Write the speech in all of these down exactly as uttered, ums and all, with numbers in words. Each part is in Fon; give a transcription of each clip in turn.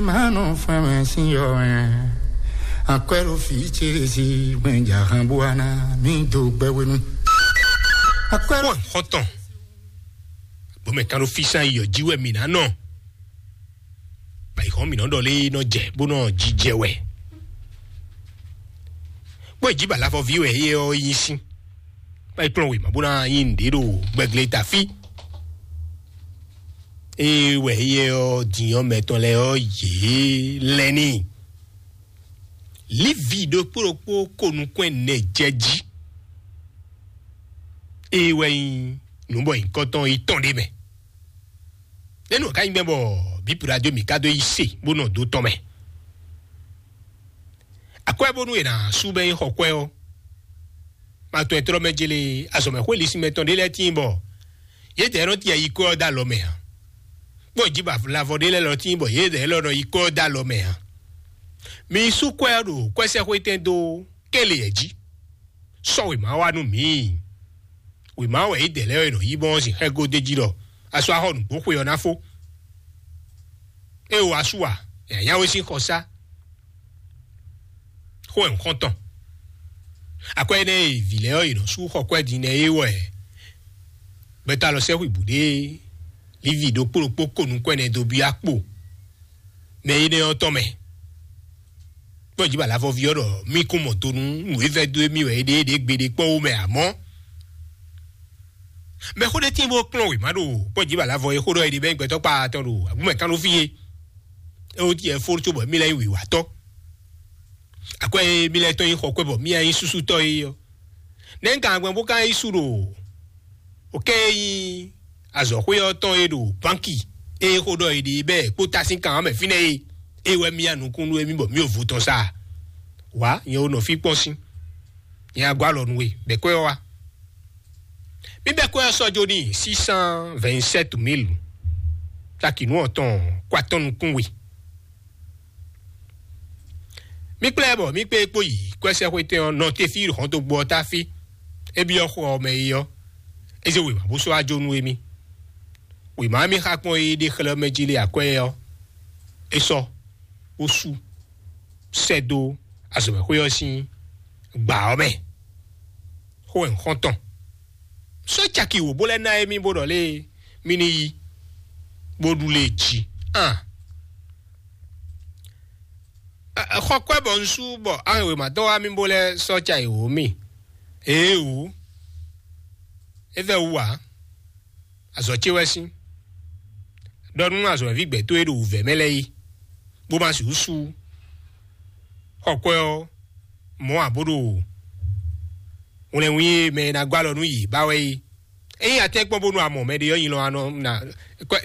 Mano fɛmɛ sin yɔ ɛ. Akwɛlo fi ce si gbɛnja han buana mi do gbɛwenu. Akwɛlo. Xɔtɔn. Gbɔmɛ kan ɖo fi san yɔ ji wɛ mi na nɔ. Ba yi xɔ mi nɔ ɖɔ lé nɔ jɛ bó nɔ jijɛ wɛ. Kpɔ́ ìjì bala fɔ vi wɛ yé ɔ yin sín. Ba yi kplɔn wěma bó ná yin nǔɖé ɖo gbɛglé ta fí. Ée wɛ yɛ ɔ́ din ɔ́ mɛtɔn lɛ́ɛ ɔ́ yě lɛ́ n'i. Lívi ɖokpó ɖokpó ko nukún ɛnɛ jɛ jí. Ée wɛ nyí nǔ bɔ nyǐkɔtɔn yi tɔn ɖé mɛ. Nɛ́nú ɔ́ ka nyí gbɛ́ bɔ bǐ radio mǐ ka dó yi se bó nɔ dó tɔn mɛ. Akwɛ́ bónú è nǎ sú bɛ́ nyí xɔ kwɛ́ ɔ́, ma tɔn ɛ tlɔ́ mɛ jélé azɔ̌mɛxwé lisínmɛ tɔn ɖé lɛ́ɛ tíin bɔ yědɛɛ nɔ tiɛ yi kwɛ́ ɔ́ dó alɔ mɛ ǎ. Kpɔ́n jǐ ba lavɔ ɖé lɛ́ɛ lɔ tíin bɔ yědɛɛ lɔ nɔ yi kwɛ́ ɔ́ dó alɔ mɛ ǎ. Mi yi sú kwɛ́ ɔ́ ɖo kwɛ́sɛxwétɛn dó kéleyɛ jí. Sɔ́ wěma wá nú mǐ. Wěma wɛ yědɛɛ lɛ́ɛ e nɔ yí bɔn ɔ́ sin xɛ́ gó d'é jí ɖɔ a sɔ́ axɔ nǔgbó xwe ɔ́ ná fó. É o wá sú a? Yǎyá we sín xɔsá. Xó wɛ un xɔ́n tɔn. Akwɛ́ énɛ́ e vǐ lɛ́ɛ ɔ́ yě nɔ sú xɔ kwɛ́ din nɛ́ é wɛ gbɛtɔ́ alɔ sɛ́ xwibǔ ɖé líví ɖokpó ɖokpó ko nukún ɛnɛ dó byɔ́ akpo mɛ énɛ́ ɔ́ tɔn mɛ. Kpɔ́n jǐ ba lavɔví ɔ́ ɖɔ mí kún mɔ do nú nǔ e vɛ́ dó émí wɛ é ɖe é ɖě gbeɖé kpɔ́n wú mɛ amɔ̌. Mɛxó ɖé tíin bó kplɔ́n wěma ɖo kpɔ́n jǐ ba lavɔ e xó ɖɔ é ɖe bɛ́ gbɛtɔ́ kpa tɔn ɖo agbúmɛ kan ɖó fí é. É wú tiɛ fó cóbɔ mí lɛ́ nyí wǐwatɔ́. Akwɛ́ e mí lɛ́ tɔn nyí xɔ kwɛ́ bɔ mí nya nyí súsútɔ́ é ɔ́. Nɛ̌ un ka gbɛn bó ka yí su ɖo o kɛ e nyí azɔ̌xwé ɔ́ tɔn e ɖo bánki e xó ɖɔ è ɖe bɛ́ kpó ta sín kan ɔ́ mɛ fínɛ́ e? É wɛ mí ya nukún nú émí bɔ mí ɖo vo tɔn sa. Wǎ, nyɛ wo nɔ fí kpɔ́n sín. Nyɛ agɔ́ alɔ nú we, bɛ̌ kwɛ́ ɔ́ wá. Mí bɛ́ kwɛ́ ɔ́ sɔ́ jó n'i six cent vingt-sept mille. Caki nǔ ɔ́ tɔn kó atɔ́ nukún we. Mí kplá ɛ bɔ mí kpé kpó yi kwɛ́sɛ́xwétɛn ɔ́ nɔ te fí hɔntogbó ɔ́ tá fí. É byɔ́ xɔ ɔ́ mɛ é ɔ́, é zé wěma bó sɔ́ wá jó nú émí. Wěma e mí xa kpɔ́n é ɖe xlɛ́ mɛ jí lé akwɛ́ ɔ́, é sɔ́ bó sú sɛ́ dó azɔ̌mɛxwé ɔ́ sín gbǎ ɔ́ mɛ. Xó wɛ un xɔ́n tɔn. Sɔ́ caki wǒ bó lɛ́ ná émí bó ɖɔ lé mí ní yí bó ɖu lé jí. An. Xɔ kwɛ́ bɔ un sú bɔ awɛn wěma tɔn wá mì bó lɛ́ sɔ́ ca yi wǒ mì. Ee wǔ, é vɛ́ wú ǎ. Azɔ̌ ce wɛ sín. Ɖɔ nú azɔ̌mɛví gbɛ̌ towe ɖo wǔvɛ́ mɛ lɛ́ɛ yi, bó ma sixú sú xɔ kwɛ́ ɔ́ mɔ̌ ǎ bó ɖo wlɛnwí e mɛ e ná gɔ́ alɔ nú yě ba wɛ é. Ényí a tɛ́nkpɔ́n bónú a mɔ mɛɖé ɔ́, nyi lɔ a nɔ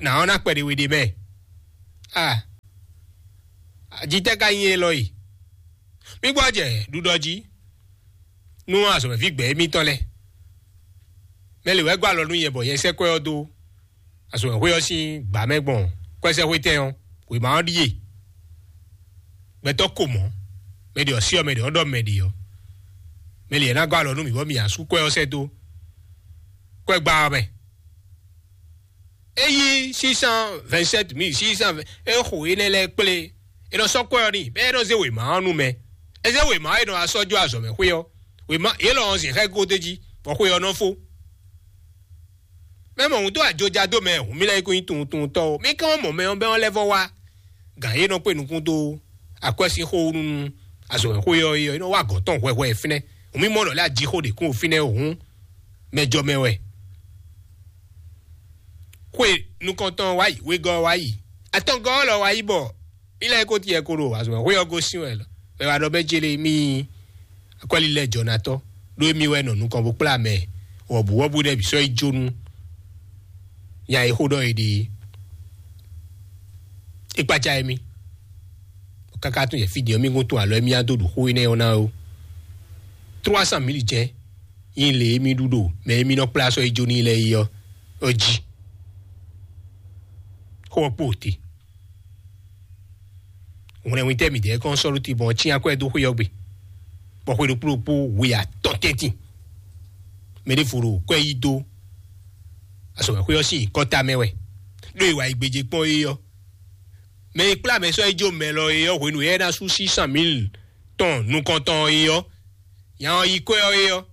nà ɔ́ ná kpɛɖé we ɖ'é mɛ. A jǐtɛ́ ka nyí élɔ́ e? Mí gbɔ jɛ ɖuɖɔ jí nú azɔ̌mɛví gbɛ̌ émítɔn lɛ́ɛ. Mɛ lě wɛ gɔ́ alɔ nú nyɛ bɔ nyɛ sɛ́ kwɛ́ ɔ́ dó azɔ̌mɛxwé ɔ́ sín gbǎ mɛ gbɔn kwɛ́sɛ́xwétɛn ɔ́, wěma ɔ́ ɖíe. Gbɛtɔ́ ko mɔ̌, mɛ ɖě ɔ́ sí ɔ́, mɛ ɖě ɔ́ ɖɔ mɛ ɖě ɔ́. Mɛ lě ná gɔ́ alɔ nú mǐ bɔ mǐ ná sú kwɛ́ ɔ́ sɛ́ dó kwɛ́gbá ɔ́ mɛ. É yí six cent vingt-sept mille six cent vingt, é xo énɛ́ lɛ́ɛ kplé. É nɔ sɔ́ kwɛ́ ɔ́ n'i, bɔ é nɔ zé wěma ɔ́ nú mɛ. É zé wěma ɔ́, é nɔ wá sɔ́ jó azɔ̌ mɛ xwé ɔ́. Wěma yě lɔ ɔ́ zǐn xá gó d'é jí, bɔ xwé ɔ́ nɔ fó. Mɛ mɔ hǔn dó ajoja dó mɛ hǔn mì lɛ́ nyí kó nyí tunwuntunwuntɔ́ ó. Mì kán mɔ mɛ ɔ́ bɛ́ ɔ́ lɛ́ vɔ wá. Gǎn e nɔ kpé nukún dó akwɛ́ sín xó wú nú azɔ̌ wɛ xó yɔ é ɔ́, é nɔ wá gɔ̌n tɔn hwɛhwɛ fínɛ́. Hǔn mì mɔ ɖɔ lɛ́ aji xó ɖě kún fínɛ́ hǔn mɛ jɔ mɛ wɛ. Xwe nukɔntɔn wá yi, wegɔ́ wá yi, atɔngɔ́ lɔ wá yi bɔ mì lɛ́ ko tiɛ ko ɖo azɔ̌ wɛ xó yɔ gosín wɛ lɔ. Mɛ wá ɖɔ bɛ́ jele mì akwɛ́lilɛ jɔnatɔ́ ɖó émí wɛ nɔ nukɔn bó kplá mɛ wɔ̌buwɔ́bú ɖɛ́ bǐ sɔ́ yi jó nú nya e xó ɖɔ è ɖe é. É kpácá émí. Káká tún yɛ fí din ɔ́, mí gún tún alɔ émí á dó ɖu xó énɛ́ ɔ́ ná ó. Trois cent mille jɛ́n nyí lě émí ɖu ɖo mɛ émí nɔ kplá sɔ́ yi jó n'i lɛ́ɛ é ɔ́, ɔ́ jí. Xó ɔ́ kpo te. Hwlɛnwítɛ́ mǐdɛɛ kɔn sɔ́ ɖó tibɔn ɔ́ cyán kwɛ́ dó xwé ɔ́ gbe, bɔ xwe ɖokpó ɖokpó we atɔn tɛ́ntin. Mɛ ɖěvo ɖo kwɛ́ yí dó azɔ̌mɛxwé ɔ́ sín nyǐkɔ tamɛ wɛ, ɖó è wǎ yi gbéjé kpɔ́n é ɔ́. Mɛ e kplá mɛ sɔ́ yi jó mɛ lɔ é ɔ́, hwenu e é ná sú six cent mille tɔn nukɔntɔn é ɔ́, nya ɔ́ yi kwɛ́ ɔ́ é ɔ́,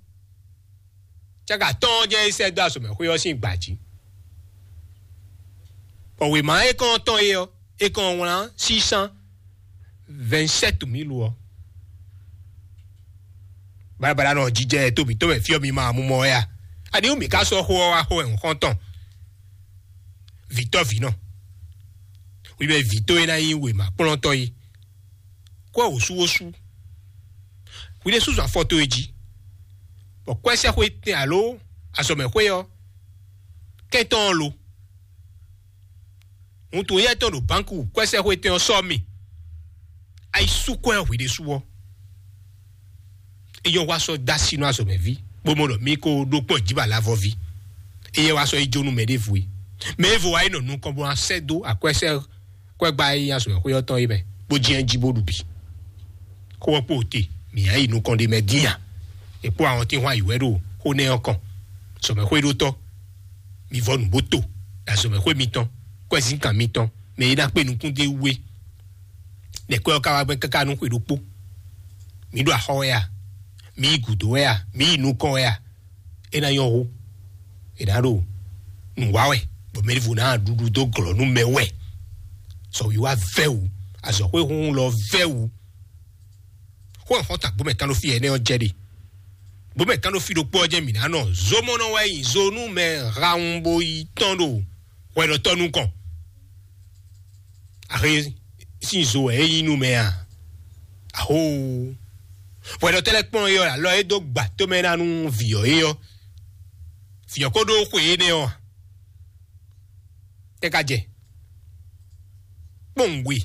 cáka tɔn ɔ́ jɛ́n é sɛ́ dó azɔ̌mɛxwé ɔ́ sín gbǎ jí. Bɔ wěma e kɔn tɔn é ɔ́, é kɔn wlán six cent vingt-sept mille ɔ́. Balabala nɔ jijɛ to mǐtɔn mɛ fí ɔ́ mi ma mú mɔ wɛ a? Aniwú mǐ ka sɔ́ xó ɔ́ wá xó wɛ nǔ xɔ́ntɔn? Vǐtɔ́ vǐ nɔ, wi mɛ vǐtɔ́ e ná nyí wěma kplɔ́ntɔ́ é, kwɛ́ wǒsúwósú. Hwi ɖésúzɔ afɔ towe jí, bɔ kwɛ́sɛ́xwé tɛn alo azɔ̌mɛxwé ɔ́, kɛ́ntɔn ɔ́ lo. Wuntun éyɛ́ tɔn ɖo bánku kwɛ́sɛ́xwé tɛn ɔ́ sɔ́ mi. Ayi sú kwɛ́ ɔ́ hwi ɖésú ɔ́, é nyɔ́ wá sɔ́ dó así nú azɔ̌mɛví, bó mɔ ɖɔ mí ko ɖó kpɔ́n jǐ bɔ alavɔví. Éyɛ́ wá sɔ́ yi jó nú mɛ ɖěvo é. Mɛ e vo wá yi nɔ nukɔn bó ná sɛ́ dó akwɛ́sɛ́ kwɛ́gbá e nyí azɔ̌mɛxwé ɔ́ tɔn é mɛ, bó jɛ́n jí bó ɖu bǐ. Xó ɔ́ kpo te, mǐ ná yi nukɔn ɖe mɛ dín a? È kpó àwọn tí hɔn ayǐ wɛ ɖo xó nɛ́ ɔ́ kɔn. Sɔmɛxwéɖótɔ́, mi vɔ nǔ bó to, ɖo azɔ̌mɛxwé mitɔn, kwɛ́zínkan mitɔn, mɛ e ná kpé nukún dó wú é. Nɛ̌ kwɛ́ ɔ́ ka wá gbɛn káká nú xwe ɖokpó? Mǐ ɖo axɔ wɛ a? Mǐ yi gǔdo wɛ a? Mǐ yi nukɔn wɛ a? É ná nyɔ́ hú. È nǎ ɖo nǔ wa wɛ, bɔ mɛ ɖěvo ná ɖuɖu dó glɔ̌ nú mɛ wɛ. Sɔwíwá vɛ́ wǔ, azɔ̌xwéhunhun lɔ vɛ́ wǔ. Xó e xɔ́ntɔn agbǒmɛ kan ɖo fí ɛnɛ́ ɔ́ jɛ ɖe. Gbǒmɛ kan ɖo fí ɖokpó ɔ́ jɛ mǐ ná nɔ. Zomɔnɔ wɛ nyi zo nú mɛ hawun bo yi tɔ́n ɖo hwɛɖɔtɔ́ nukɔn. Ahe sín zo wɛ é nyí nú mɛ a? Ahoo! Hwɛɖɔtɔ́ lɛ́ɛ kplɔ́n é ɔ́, alɔ é dó gba tómɛ ná nú vǐ ɔ́ é ɔ́. Vǐ ɔ́ ko ɖó xwe énɛ́ ɔ́ a? É ka jɛ kpɔ́nwun we.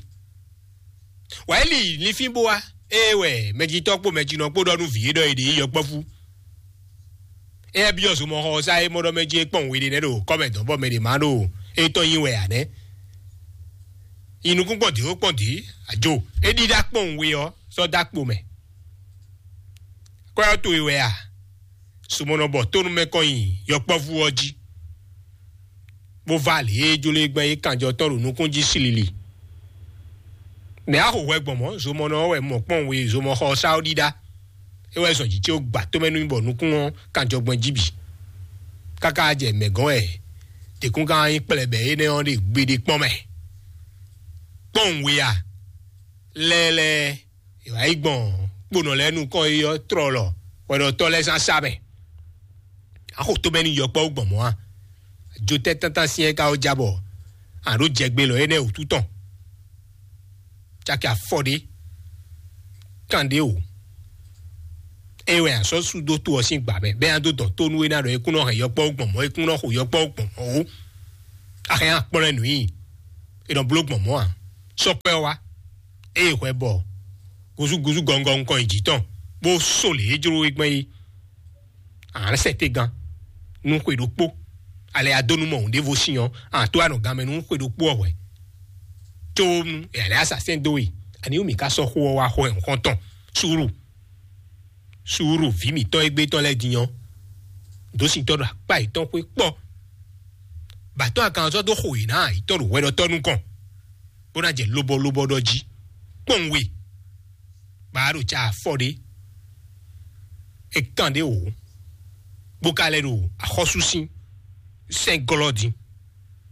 Wǎ é li linfín bó wá, ée wɛ mɛjitɔ́ kpó mɛjinɔ kpó ɖɔ nú vǐ é ɖɔ è ɖě yi yɔkpɔ́vú. Éyɛ́ byɔ́ zomɔxɔ ɔ́ sá é mɔ ɖɔ mɛ jí é kpɔ́n we ɖé nɛ́ ɖo kɔ́mɛ dɔ̌n bɔ mɛ ɖě má ɖo é tɔn nyi wɛ ǎ nɛ́. Yi nukún kpɔ́n dǐ ó kpɔ́n dǐ, àjò é ɖíɖá kpɔ́n we ɔ́ sɔ́ dó akpo mɛ. Kwɛ́ ɔ́ towe wɛ a? Sumɔnɔ bɔ tónúmɛ kɔn nyi yɔkpɔ́vú ɔ́ jí, bó vá lě e jló e gbɛn é kanjɔ tɔn ɖo nukún jí slili. Mɛ á xo hwɛ gbɔn mɔ̌, zomɔnɔ ɔ́ wɛ mɔ kpɔ́n we zomɔxɔ ɔ́ sá ɔ́ ɖíɖá. É wɛ zɔn jǐ ce ó gba tómɛ nú mì bɔ nukún ɔ́ kanjɔ gbɔn jí bǐ. Káká jɛ mɛ̌ gɔ́n wɛ děkúngán nyí kplɛ̌bɛ́ énɛ́ ɔ́ ɖe gbeɖé kpɔ́n mɛ. Kpɔ́n we a? Lɛ́lɛ́, è wǎ yi gbɔn kponɔ lɛ́ɛ nukɔn é ɔ́ tlɔlɔ hwɛɖɔtɔ́ lɛ́ɛ zán sá mɛ. A xo tómɛ nú yɔkpɔ́ gbɔn mɔ̌ a? Jotɛ́ tántán syɛ́n ka ó já bɔ a ɖǒ jɛgbe lɔ énɛ́ wǔtu tɔn. Caki afɔ ɖé, kan ɖé o. É wɛ a sɔ́ sú dó to ɔ́ sín gbǎ mɛ, bɛ́ nya dó dɔn tó nú é ná ɖɔ é kún nɔ hɛn yɔkpɔ́ gbɔn mɔ̌, é kún nɔ xo yɔkpɔ́ gbɔn mɔ̌ ó. A hɛn akplɔ́n ɛ nǔ nyi, è nɔ bló gbɔn mɔ̌ ǎ. Sɔ́ kpɛ́ ɔ́ wá, ée hwɛ bɔ gúzúgúzú gɔngɔn nukɔn yi jǐ tɔn, bó só lě e jló é gbɛn é. Ǎ sɛ te gán nú xwe ɖokpó, alɛ ya dó nú mɔ hǔn ɖěvo sin ɔ́, ǎ tó anɔ gan mɛ nú xwe ɖokpó ɔ́ hwɛ̌. Có nú è lɛ́ asasɛ́n dó we, ani wú mǐ ka sɔ́ xó ɔ́ wá xo ɛ nǔxɔntɔn? Suúlu, suúlu vǐ mǐtɔn e gbé tɔn lɛ́ɛ din ɔ́, dǒsintɔ́ ɖo akpá yětɔn xwé kpɔ́. Bǎtɔ́ akanzɔ́ dó xo yě ná ayǐtɔ́ ɖo hwɛɖɔtɔ́ nukɔn, bó ná jɛ lobɔlobɔ ɖɔ jí. Kpɔ́n we, bá ɖo ca afɔ ɖé, é kán ɖé wǒ, bó ka lɛ́ ɖo axɔ́súsín sɛ́n glɔ́ din,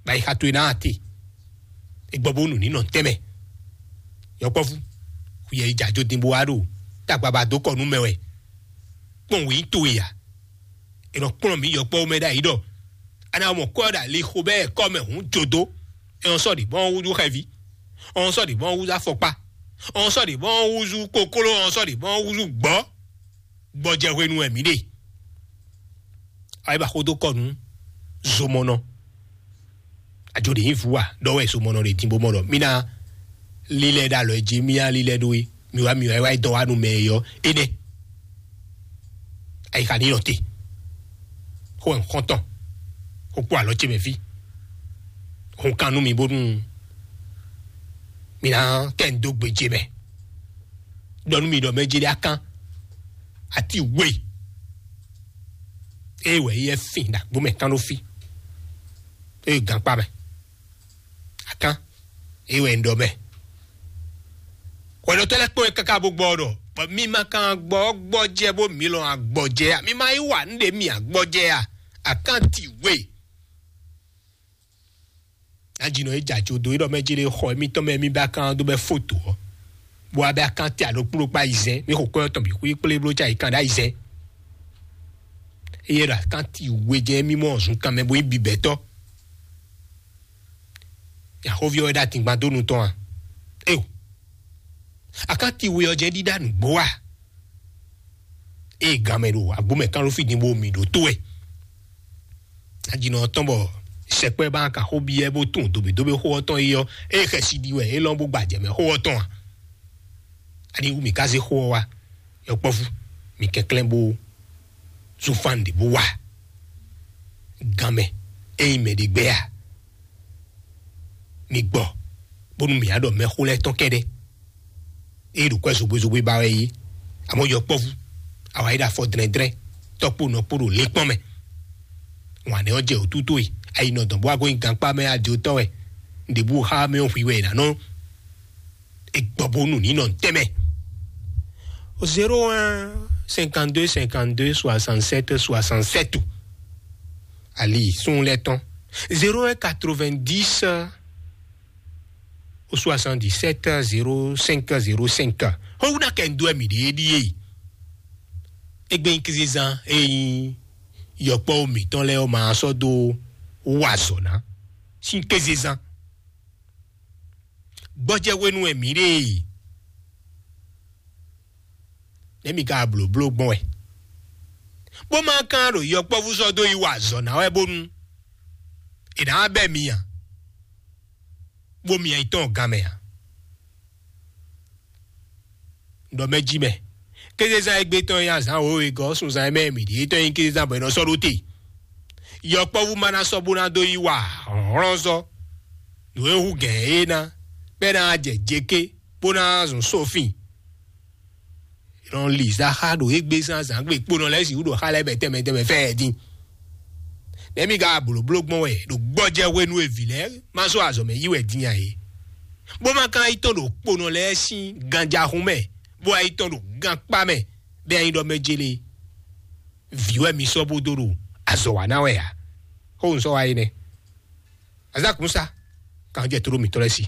bɔ ayixa towe ná te, é gbɔ bónú ní nɔ tɛ́nmɛ. Yɔkpɔ́vú, xuyɛ yi jǎ jó din bó wá ɖo tagbaba dó kɔ nú mɛ wɛ. Kpɔ́n wě nyí towe ǎ. È nɔ kplɔ́n mǐ yɔkpɔ́ mɛ ɖ'ayǐ ɖɔ a nǎ mɔ kɔ́ ɖo ali xo bɛ́ kɔ́ mɛ hǔn jodó. È nɔ sɔ́ ɖi bɔ́ húzú xɛví, ɔn sɔ́ ɖi bɔ́ húzú afɔkpá, ɔn sɔ́ ɖi bɔ́ húzú kokló, ɔn sɔ́ ɖi bɔ́ húzú gbɔ́. Gbɔjɛhwenu wɛ mǐ ɖe. Ayi ba xó dó kɔ nú zomɔnɔ. Ajo ɖe nyí vǔ a? Ɖɔ wɛ zomɔnɔ ɖe din bó mɔ ɖɔ mí ná lílɛ ɖo alɔ jí, mí ná lílɛ ɖó é. Mi wá, mi wá, wá dɔ wá nú mɛ e yɔ énɛ́. Ayixa ní nɔ te. Xó wɛ xɔntɔn. Xó kpó alɔ ce mɛ fí. Xó kan nú mi bónú mi ná kɛ ń dó gbe ce mɛ. Ɖɔ nú mi ɖɔ mɛ jɛ ɖe akán. Ati we. Eye wɛ yɛ fin ɖagbo mɛ kan ɖó fí. Eye gankpa mɛ. Akán. É wɛ un ɖɔ mɛ. Hwɛɖɔtɔ́ lɛ́ɛ kpɔ́n ɛ káká bó gbɔ ɖɔ, bɔ mi ma kan gbɔ gbɔjɛ bó mi lɔn agbɔjɛ a? Mi ma yi wa nǔɖé mi agbɔjɛ a? Akanti we. Ajinɔ e jɛ ajo dó é ɖɔ mɛ jí ɖe xɔ émítɔn mɛ mi bɛ akan dó bɛ foto ɔ́, bó wá bɛ akan tɛ alo kpló kpá yi zɛn mi xo kɔ́ tɔn bǐ xwí kplé bló ca yi kan ɖá yi zɛn. Eye ɖo akanti we jɛ mí mɔ zunkan mɛ bó yi bibɛtɔ. Yaxovi ɔ́ wɛ ɖo atingban dó nu tɔn a? Eo, akanti we ɔ́ jɛ ɖíɖá nǔgbó a? Eye gan mɛ ɖo agbó mɛ kán ló fí din bó mi ɖo tó wɛ. Ajinɔ ɔ́ tɔn bɔ sɛkpɛ ba ka xó biɛ bó tún dobe dobe xó ɔ́ tɔn yi ɔ́, eye xɛsi ɖi wɛ é lɔn bó gbajɛ mɛ xó ɔ́ tɔn a? Ani wú mi ka zé xó ɔ́ wá? Yɔkpɔ́vú, mi kɛnklɛ́n bó zún fán ɖě bó wá. Gan mɛ, ényí mɛ ɖé gbɛ́ a? Mi gbɔ bónú mǐ á ɖɔ mɛxó lɛ́ɛ tɔn kɛ́ɖɛ́. Ée ɖo kwɛ́ zogbezogbe ba wɛ é. Amɔ̌ yɔkpɔ́vú, awa yi ɖo afɔ dlɛ́ndlɛ́n, tɔ́kpó nɔkpó ɖo lě kpɔ́n mɛ. Wǎn nɛ́ ɔ́ jɛ wǔtútú e, ayi nɔ dɔn bó wá gɔ́ nyi gankpá mɛ adotɔ́ wɛ. Nɖěbǔ xá mɛ ɔ́ hwi wɛ è nǎ nɔ. È gbɔ bónú ní nɔ tɛ́mɛ. Zéro un cinquante-deux cinquante-deux soixante-sept soixante-sept. Ali sun lɛ́ tɔn. Zéro un quatre-vingt-dix au soixante-dix-sept zéro cinq zéro cinq. Xɔwúna kɛ ń dó ɛmì ɖě ɖíe. Égbé nyí kézezán e nyí yɔkpɔ́ mǐtɔn lɛ́ɛ ɔ́ ma sɔ́ dó wa azɔ̌ ná sín kézezán. Gbɔjɛ́ hwenu wɛ mǐ ɖe e. Nɛ̌ mi ka blǒbló gbɔn wɛ? Bó ma kán ɖo yɔkpɔ́vú sɔ́ dó yi wa azɔ̌ ná wɛ bónú è nǎ wá bɛ́ mi a? Bó mi yi tɔn gan mɛ a? Ɖɔ mɛ jí mɛ. Kézezán égbé tɔn nyí azǎn wěwe gɔ́ sunzán mɛ mǐ ɖíe tɔn nyí kézezán bɔ è nɔ sɔ́ ɖó te. Yɔkpɔ́vú ma ná sɔ́ bó ná dó yi wa hlɔ̌nhlɔ́n sɔ́. Nǔ e hú gɛ̌n é ná, bɔ é ná jɛ jeké, bó ná zɔn sófin. Nɔ li zaxa ɖo égbé zán zǎngbe kponɔ lɛ́ɛ sixú ɖo xa lɛ́ɛ bɛ tɛnmɛ tɛnmɛ fɛ ɛ dín. Nɛ̌ mi ka blǒbló gbɔn wɛ ɖo gbɔjɛ hwenu e vǐ lɛ́ɛ ma sɔ́ azɔ̌ mɛ yí wɛ dín a é? Bó ma ka yi tɔn ɖo kponɔ lɛ́ɛ sín ganjahun mɛ, bó wá yi tɔn ɖo gankpá mɛ, bɛ nyi ɖɔ mɛ jélé vǐ wɛ mi sɔ́ bó dó ɖo azɔ̌ wa ná wɛ a? Xó un sɔ́ wa é nɛ́. Azǎkúnsa kan jɛ tló mǐtɔn lɛ́ɛ sí.